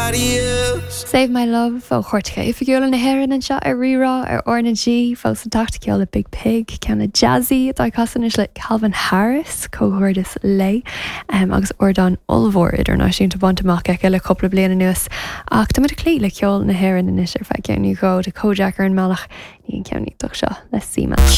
nobody else. Save My Love ó Chairteacha Oifigiúla na hÉireann anseo ar Rí-Rá ar R na G, fós ag teacht ceol le Biig Piig, ceann le Jazzy atá ag casadh anois le Calvin Harris, comhghairdeas léi, agus ardán ollmhór idirnáisiúnta bainte amach aici le cúpla bliain anuas. Ach tá muid ag cloí le ceol na hÉireann anois ar feadh ceann nó dhó, tá Kojaque ar an mbealach, i ndiaidh an ceann iontach seo le Sima.